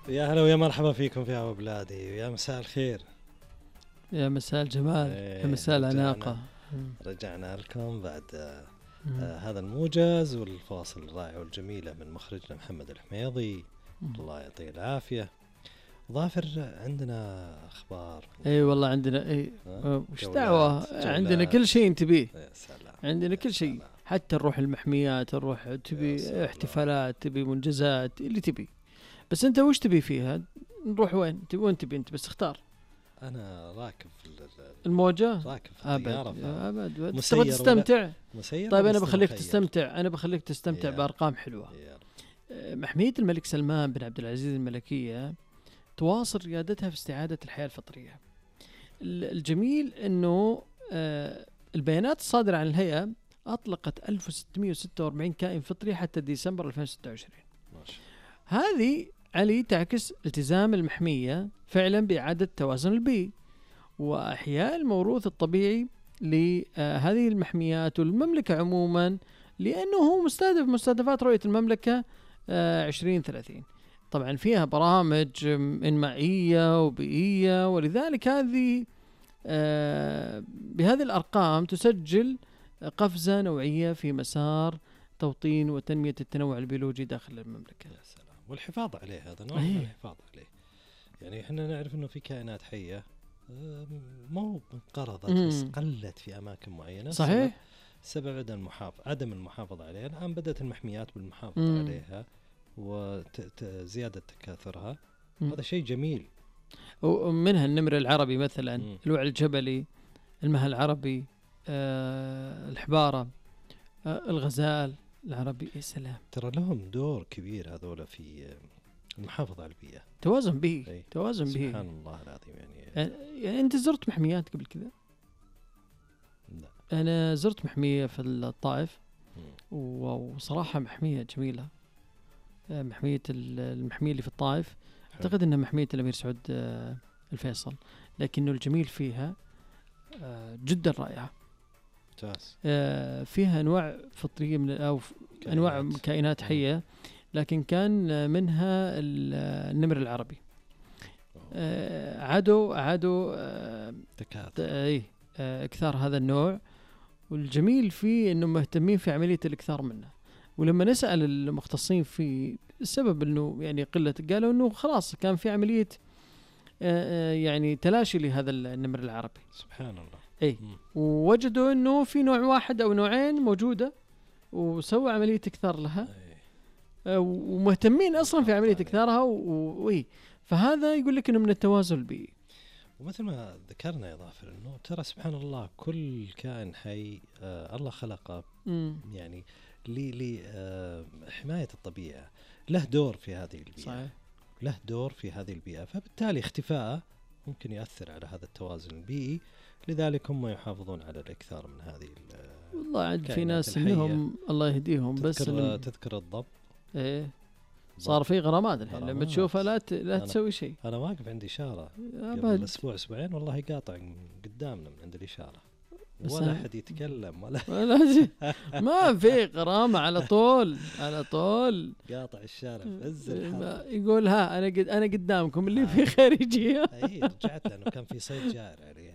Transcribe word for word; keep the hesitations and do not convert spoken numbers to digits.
يا هلا ويا مرحبا فيكم في هوا بلادي، ويا مساء الخير، يا مساء الجمال، إيه يا مساء رجعنا الأناقة. رجعنا لكم بعد آه آه هذا الموجز والفواصل الرائعة والجميلة من مخرجنا محمد الحميضي، الله يعطيه العافية. ظافر عندنا أخبار. اي والله عندنا اي آه، وش جولات- دعوة، جولات. عندنا كل شيء تبيه، يا سلام، عندنا يا كل شيء، سلام. حتى نروح المحميات، نروح يا تبي سلام. احتفالات، تبي منجزات، اللي تبي. بس انت وش تبي فيها؟ نروح وين تبي؟ وين تبي انت؟ بس اختار. أنا راكب في ال- ال- الموجة راكب في ابد الطيارة، فاهم؟ ابد مسير تبغى ولا- تستمتع. مسير طيب ولا انا بخليك مخير؟ تستمتع، انا بخليك تستمتع يا. بارقام حلوة. يا رب. آه، محمية الملك سلمان بن عبد العزيز الملكية تواصل ريادتها في استعادة الحياة الفطرية. ال- الجميل أنه آه، البيانات الصادرة عن الهيئة أطلقت ألف وستمئة وستة وأربعين كائن فطري حتى ديسمبر ألفين وستة وعشرين. ما شاء هذه علي تعكس التزام المحمية فعلا بإعادة التوازن البيئي وإحياء الموروث الطبيعي لهذه المحميات والمملكة عموما، لأنه هو مستهدف مستهدفات رؤية المملكة آه، عشرين ثلاثين. طبعا فيها برامج إنمائية وبيئية، ولذلك هذه آه، بهذه الأرقام تسجل قفزة نوعية في مسار توطين وتنمية التنوع البيولوجي داخل المملكة. يا سلام. والحفاظ عليه، هذا نوع أيه. من الحفاظ عليه. يعني احنا نعرف انه في كائنات حية آه، مو انقرضت بس مم. قلت في اماكن معينة. صحيح. سبب عدم المحافظة عدم المحافظة عليها. الان بدأت المحميات بالمحافظة مم. عليها وزيادة تكاثرها. مم. هذا شيء جميل. ومنها النمر العربي مثلا، مم. الوعي الجبلي، المها العربي، آه، الحبارة، آه، الغزال العربي. يا سلام، ترى لهم دور كبير هذول في آه، المحافظة على البيئة. توازن بيئي، أي. توازن بيئي. سبحان الله العظيم. يعني يعني يعني انت زرت محميات قبل كذا؟ لا. انا زرت محمية في الطائف، مم. وصراحة محمية جميلة. آه، محمية ال- المحمية اللي في الطائف حلو. اعتقد انها محمية الامير سعود آه، الفيصل، لكنه الجميل فيها آه، جدا رائعة. ممتاز. آه، فيها انواع فطرية من او ف- انواع كائنات. كائنات مم. حية، لكن كان آه، منها ال- آه، النمر العربي. أوه. آه، عادوا عادوا آه، تكاثر. ت- ايه آه، اكثار هذا النوع، والجميل فيه انه مهتمين في عملية الاكثار منه. ولما نسأل المختصين في السبب انه يعني قلة، قالوا انه خلاص كان في عملية آه، آه، يعني تلاشي لهذا النمر العربي. سبحان الله. اي مم. ووجدوا انه في نوع واحد او نوعين موجودة، وسووا عملية اكثار لها، أي. آه، ومهتمين اصلا في عملية عليه. اكثارها. وي فهذا يقول لك انه من التوازن البيئي. ومثل ما ذكرنا يا ظافر انه ترى سبحان الله كل كائن حي آه الله خلقه مم. يعني لحماية آه الطبيعة، له دور في هذه البيئة. صحيح. له دور في هذه البيئة، فبالتالي اختفاءه ممكن يؤثر على هذا التوازن البيئي. لذلك هم يحافظون على الإكثار من هذه ال- والله عاد في كائنات ناس الحية. انهم الله يهديهم، بس تذكر, إنهم- تذكر الضب. ايه صار في غرامات الحين، لما غرامات. تشوفها لا ت... لا أنا- تسوي شيء أنا واقف عندي إشارة قبل ابد. أسبوع أسبوعين والله قاطع قدامنا من عند الإشارة، بس ولا أنا- أحد يتكلم ولا ولا شيء. ما في غرامة، على طول على طول. قاطع الشارع في عز الحر. ما- يقول ها انا قد انا قدامكم اللي آه. في خارجية. اي رجعت لانه كان في صيد جائر عليه